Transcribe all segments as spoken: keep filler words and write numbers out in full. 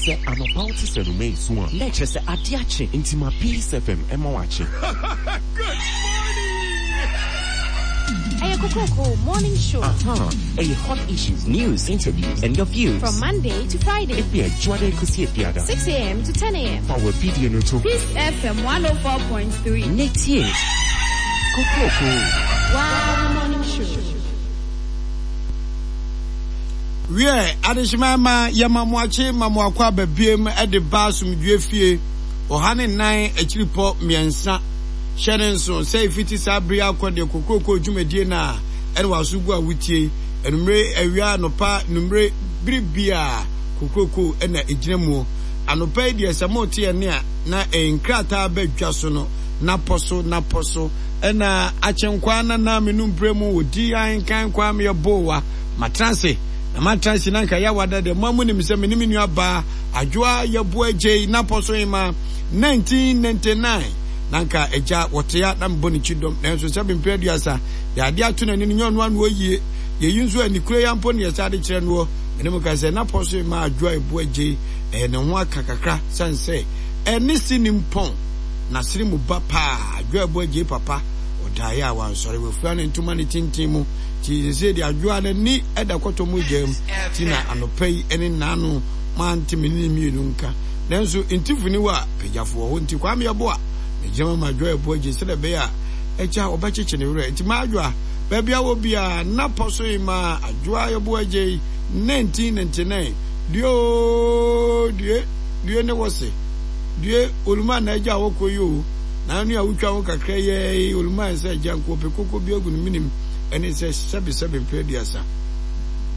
Sɛ anɔpa wote sɛ noma esu a, na ɛkyerɛ sɛ ade akye. Nti ma Peace F M ɛma wakye. Good morning! Ɛyɛ Kokroko Morning Show. Aha, ɛyɛ hot issues, news, interviews, and your views. From Monday to Friday. Efi Adwoada ekosi Efiada. six A M to ten A M. Fa wɔ video no to. Peace F M one oh four point three. Netie. Kokroko. Wow, Morning Show. Wie adehyeman ma yɛma mo akye ma mo akɔ ababiem de ba asomdwoe fie ɔha ne nnan akyiripɔ mmiɛnsa. Hyɛ ne nso sɛ efiti saa bere akɔ deɛ Kokroko dwumadie no a ɛne waso gu a wotie anumere awia anɔpa numere bere bia Kokroko na egyina mu. Anɔpa yi deɛ sɛ mote ɛne a na nkrataa bɛdwa so no napɔ so napɔ so ɛna akyenkwa na na menumpere mu odi ahenkan kwa meyɛ bowa matranse na matranse na nka yɛawada deɛ mo amu nim sɛ me ne me nua baa adwoa yɛboa gyei napɔ so ema nineteen ninety-nine na nka agya wɔtea na mbɔ ne kyidɔm nanso sɛ bempere aduasa yɛade ato n'ani no nyɛ ɔno ano yie yɛyi nso ani kura ya mpo ne yɛsa de kyerɛ noɔ mene mu ka sɛ napɔ so ema adwoa yɛboa gyei ɛyɛ ne ho aka kakra sane sɛ ɛne si ne mpɔn na sere mu ba paa adwoa yɛboa gyei papa ɔdaeɛ a wansɔre wafura ne ntoma ne tintin mu ti sɛ de adwoa n'ani ɛda kɔtɔ mu gyam ti na anɔpa yi ɛne nano mante me ne mmienu nka nanso ntifuni wa pagyafoɔ hɔ nti Kwame Yeboah megyina ma adwoa yɛboa gye sɛdeɛ ɛbɛyɛ a agya wɔbɛkyekye ne werɛ nti ma adwoa baabi a wɔ biara napɔ so yi ma adwoa yɛboa gye nineteen ninety-nine due o due due ne wɔ se due oluma na agya wɔkɔ yi o na anu a wotwa ho kakra yɛ oluma sɛ agya nko ɔpɛ koko bi agu ne minim ɛne sɛ sɛbe sɛbe mpɛ aduasa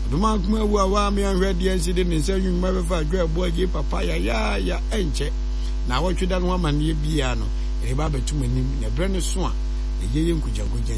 ɔdoma nkoma awu a waa me anhwɛ deɛ nsi de ne nsa nwuma bɛfa adwoa yɛboa gye papa ya ya ya ɛnkyɛ na wɔtwe da no amanneɛ biara no ɛde ba abɛto m'anim na ɛberɛ no so a ɛyɛ yɛ nkogyankogya.